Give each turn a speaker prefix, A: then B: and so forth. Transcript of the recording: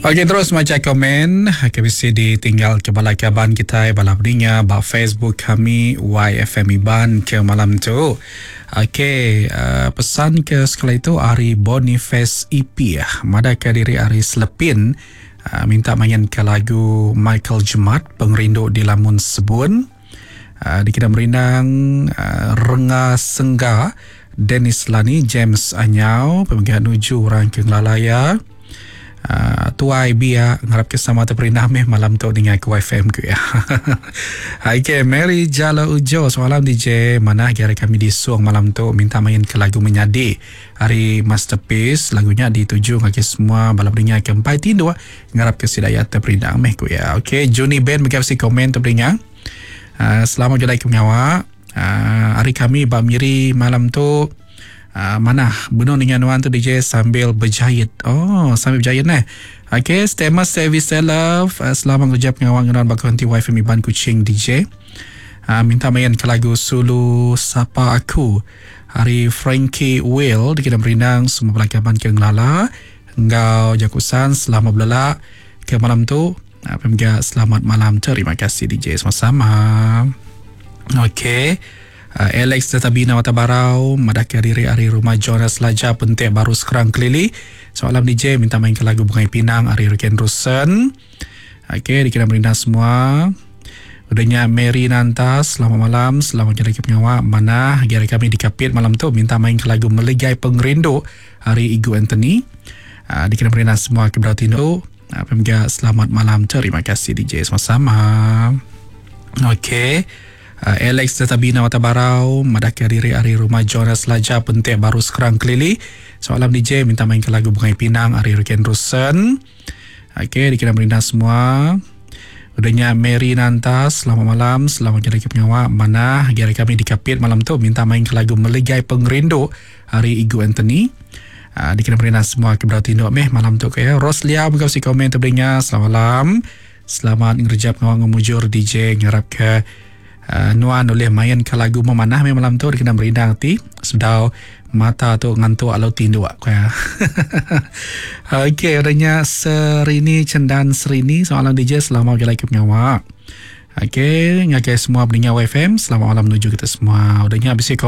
A: Ok terus macha komen ke bisi ditinggal ke bala kaban kitai bala peninga ba Facebook kami YFM Iban ke malam tu. Ok uh, pesan ke sekali tu ari Boniface EP madah ke diri ari Selepin uh, minta main ke lagu Michael Jemat Pengerindu di Lamun Sebun. Uh, dikena merindang uh, Renga Sengga Dennis Lani James Anyau pemega nuju orang ke ngelala iya. Uh, tuai biak ngarap ke sama terperindang meh malam tu ninga ke YFM ku ya. Okay, Mary Jala Ujo semalam DJ manah gari kami di Suang malam tu minta main ke lagu menyadi hari Masterpiece lagunya dituju ngagai semua bala pendengar ke empai tinduk ngarap ke sida ya terperindang meh ku ya. Okay, Juni Ben mega bisi komen terperindang. Uh, selamat jalai ke pengawa. Uh, hari kami ba Miri malam tu uh, manah benung ninga nuan tu DJ sambil berjahit. Oh, sambil berjahit neh. Okay, Stemas Service Love. Uh, selamat kerja pengawa ngenuan ba konti wife Iban Kuching DJ. Uh, minta main ke lagu Sulu Sapa Aku. Hari Frankie Will dikena merindang semua bala kaban ke ngelala enggau jaku san selamat belelak ke malam tu. Apa mega selamat malam. Terima kasih DJ sama-sama. Okey. Uh, Alex Tetabina Mata Barau madahkan diri ari rumah Jonas Laja pentik baru sekarang kelili. Soalan DJ minta main ke lagu Bungai Pinang ari Riken Rusen. Okey, dikira merindang semua. Udahnya Mary Nanta, selamat malam, selamat jadi ke pengawa. Mana gari kami di Kapit malam tu minta main ke lagu Meligai Pengerindu ari Igu Anthony. Uh, dikira merindang semua ke berarti tu. Apa mega selamat malam. Terima kasih DJ sama-sama. Okey. Uh, Alex Tetabina Mata Barau madahkan diri ari rumah Jonas Laja pentik baru sekarang kelili. Soalan DJ minta main ke lagu Bungai Pinang ari Riken Rusen. Okey, dikira merindang semua. Udahnya Mary Nanta, selamat malam, selamat jadi ke pengawa. Mana gari kami di Kapit malam tu minta main ke lagu Meligai Pengerindu ari Igu Anthony. Uh, dikena merina semua ke berau tinduk meh malam tu ke ya. Roslia buka si komen terberinga selamat malam. Selamat ngerja pengawa ngemujur DJ ngarap ke uh, nuan oleh main ke lagu memanah meh malam tu dikena merindang ti sedau mata tu ngantuk alau tinduk ke ya. Okey, adanya Serini Cendan Serini soalan DJ selamat lagi ke pengawa. Okey, ngagai semua pendengar YFM, selamat malam menuju kita semua. Udahnya bisi komen.